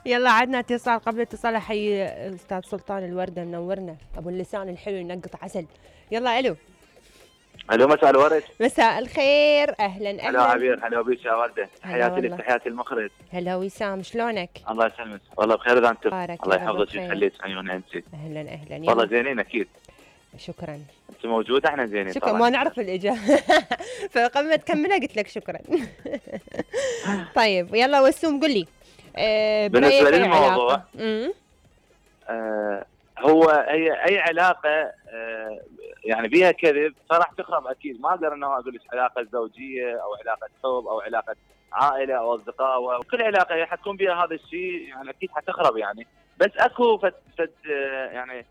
يلا عدنا اتصال قبل اتصال. احيي استاذ سلطان الوردة منورنا، ابو اللسان الحلو ينقط عسل. يلا الو. الو مساء الورد. مساء الخير، اهلا اهلا. هلا عبير، هلا بيك يا ورده، هلا تحياتي لك، والله. تحياتي المخرج. هلا وسام، شلونك؟ الله يسلمك، والله بخير اذا انت. بارك الله يا رب يحفظك بخير. ويخليك عيون انت. اهلا اهلا. والله يلا زينين اكيد. شكرا. انت موجوده احنا زينين شكرا، طبعا. ما نعرف الاجابه فقبل ما تكملها قلت لك شكرا. طيب يلا وسوم قل لي. بالنسبه للموضوع هو اي علاقه يعني بيها كذب فراح تخرب اكيد. ما اقدر انه اقول لك علاقه زوجيه او علاقه حب او علاقه عائله او اصدقاء، وكل علاقه حتكون بها هذا الشيء يعني اكيد حتخرب يعني. بس اكو فد يعني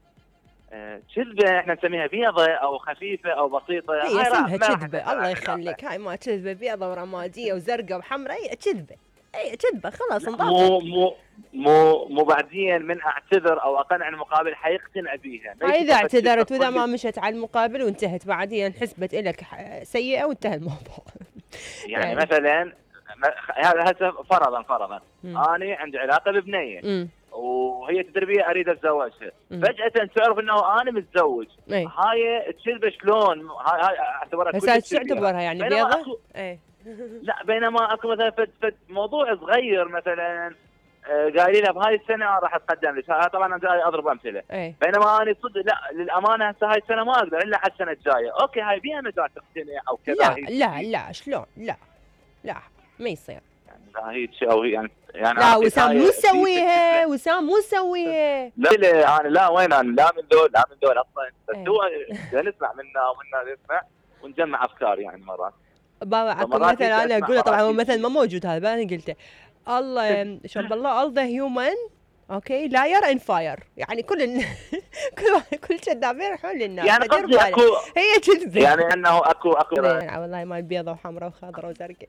كذبه احنا نسميها بيضه او خفيفه او بسيطه. هي اسمها كذبه، الله يخليك. هاي ما كذبه بيضه ورماديه وزرقاء وحمراء، هي كذبه، اي كذبه خلاص انضبط. مو بعدين من اعتذر او اقنع المقابل حيقتنع بيها. اذا اعتذرت واذا ما مشت على المقابل وانتهت بعدين حسبت لك سيئه وانتهى الموضوع. يعني مثلا هذا فرضا انا عندي علاقه ببنيه وهي تدري بي اريد اتزوجها، فجاه تعرف انه انا متزوج. هاي الكذبه شلون؟ هاي اعتبرها كل شو تعتبرها يعني بيضه؟ لا، بينما اكو مثلا فد موضوع صغير مثلا قايلين لها بهاي السنه راح اتقدم لك. طبعا انا جاي اضرب امثله. بينما انا صدق لا للامانه هسه هاي السنه ما اقدر الا على السنه الجايه. اوكي هاي بيها مجال تقتنع او كذا. لا شلون؟ لا ما يصير. لا هي شيء او يعني لا وسام مو مسويها، وسام مو مسويها. لا انا لا وين انا لا من دول اصلا. بس هو نسمع منا ومنا نسمع ونجمع افكار يعني مرات. بابا اكو مثل انا اقوله، طبعا هو مثل ما موجود هذا انا قلته. الله شوف الله all the human اوكي لاير ان فاير، يعني كل كذابين يروحون للنار. يعني قصدي اكو هي كذبه يعني انه اكو والله مال بيضه وحمراء وخضراء وزرقاء.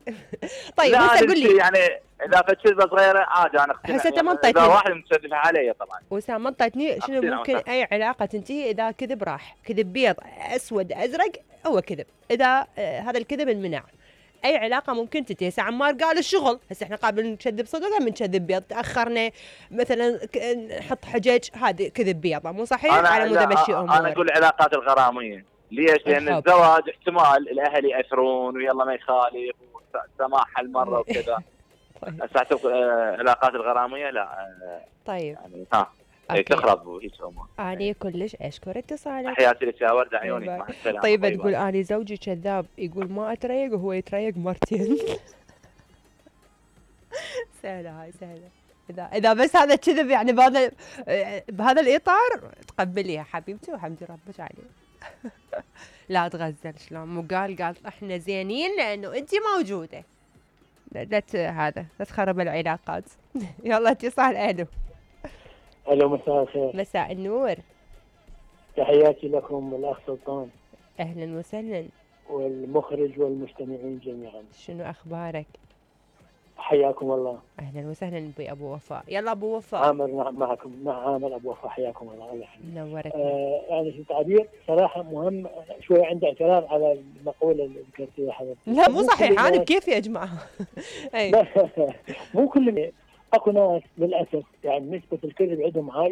طيب هسه قول لي يعني اذا كذبه صغيره عادي انا اقتنع. هسه ما اذا واحد متشدد علي طبعا. وسام ما انطيتني شنو ممكن اي علاقه تنتهي اذا كذب راح، كذب بيض اسود ازرق هو كذب، اذا هذا الكذب انمنع اي علاقه ممكن تنتهي. هسه عمار قال الشغل، هسه احنا قابل نكذب صدق من كذب بيض، تاخرنا مثلا نحط حجج، هذه كذب بيضه مو صحيح. على مود امشي امور. انا اقول العلاقات الغراميه. ليش؟ لان الزواج احتمال الاهل ياثرون ويلا ما يخالف وسماح هالمره وكذا. هسه العلاقات الغراميه لا. طيب يعني تخرب وهيك امور. اني كلش اشكر اتصالك. تحياتي لك يا ورده عيونك، مع السلامه. طيب تقول اني زوجي كذاب، يقول ما اتريق وهو يتريق مرتين. سهله هاي سهله. اذا بس هذا كذب يعني بهذا الاطار تقبليها حبيبتي وحمدي ربك عليه. لا تغزل شلون مو قال احنا زينين لانه انت موجوده. لا تخرب العلاقات. يلا اتصال. الو مساء الخير. مساء النور. تحياتي لكم الاخ سلطان. اهلا وسهلا. والمخرج والمستمعين جميعا. شنو اخبارك؟ حياكم الله. اهلا وسهلا ابو وفاء. يلا ابو وفاء. عامر معكم مع عامر ابو وفاء، حياكم الله. الله يحفظك. نورك. يعني في تعبير صراحه مهم شوي، عندي اعتراض على المقوله اللي ذكرتيها حضرتك. لا مو صحيح، انا كيف يا جماعه؟ مو كل اكو ناس للاسف يعني نسبه الكذب عندهم عاليه.